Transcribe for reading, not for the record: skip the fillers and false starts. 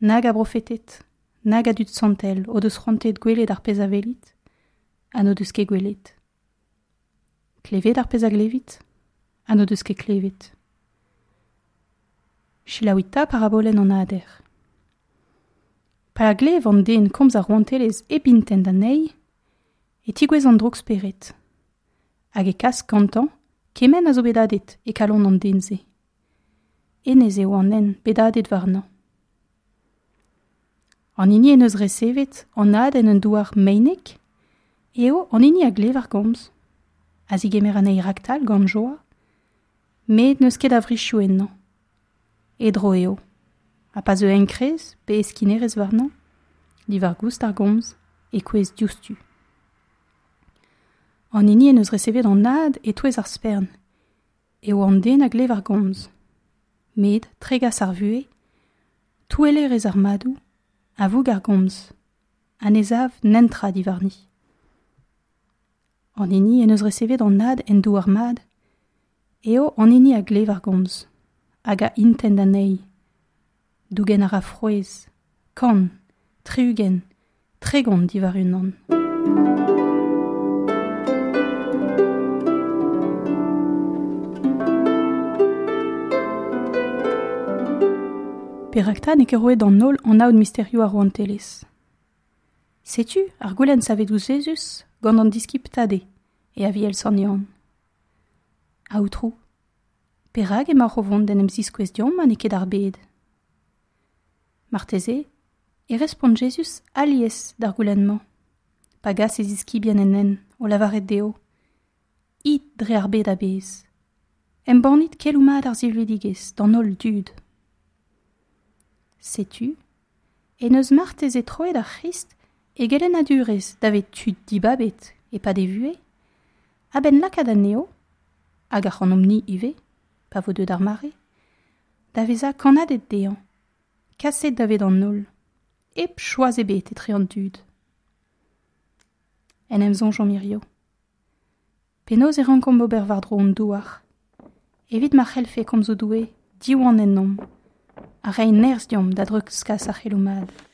Nag a brofeted, nag a dud santel o deus c'hoantaet gwelet ar pezh a welit, ha n'o deus ket gwelet. Klevet ar pezh a glevit, ha n'o deus ket klevet. Selaouit 'ta parabolenn an hader. Pa glev an den komz ar rouantelezh hep intent anezhi, e tigouezh an drouk-spered, hag e kas gantañ kement a zo bet hadet e kalon an den-se. Hennezh eo an hent bet hadet warnañ. An hini en deus resevet an had en un douar meinek eo an hini a glev ar gomz, a zigemer anezhi raktal gant joa, met n'eus ket a wrizioù ennañ. E dro eo, ha pa zeu enkrez pe heskinerezh warnañ, diwar-goust ar gomz, e kouezh diouzhtu. An hini en deus resevet an had e-touez ar spern eo an den a glev ar gomz, met tregas ar vuhez, touellerezh ar madoù, a voug ar gomz, ha ne sav netra diwarni. An hini en deus resevet an had en douar mat eo an hini a glev ar gomz hag a intent anezhi. Dougen a ra frouezh, 100, 60, 30 diwar unan. Perak 'ta n'eo ket roet d'an holl anaout misterioù ar rouantelezh? Setu ar goulenn savet ouzh Jezuz gant an diskibl Tade e Aviel Sant Yann. Aotrou, perak emaoc'h o vont d'en em ziskouez deomp ha n'eo ket ar bed? Marteze e respont Jezuz alies d'ar goulenn-mañ, pa gas e ziskibien en hent o lavaret dezho It dre ar bed a-bezh, embannit keloù mat ar silvidigezh d'an holl dud. Setu en deus marteze troet ar C'hrist e gelennadurezh davet tud dibabet e-pad e vuhez, a-benn lakaat anezho, hag ac'hanomp-ni ivez, pa vo deuet ar mare, da vezañ kannaded dezhañ, kaset davet an holl, hep choaz ebet etre an dud. En em soñjomp hiziv. Penaos e rankomp ober war-dro hon douar, evit ma c'hellfe komzoù Doue diwan ennomp ha reiñ nerzh deomp da dreuzkas ar c'heloù mat.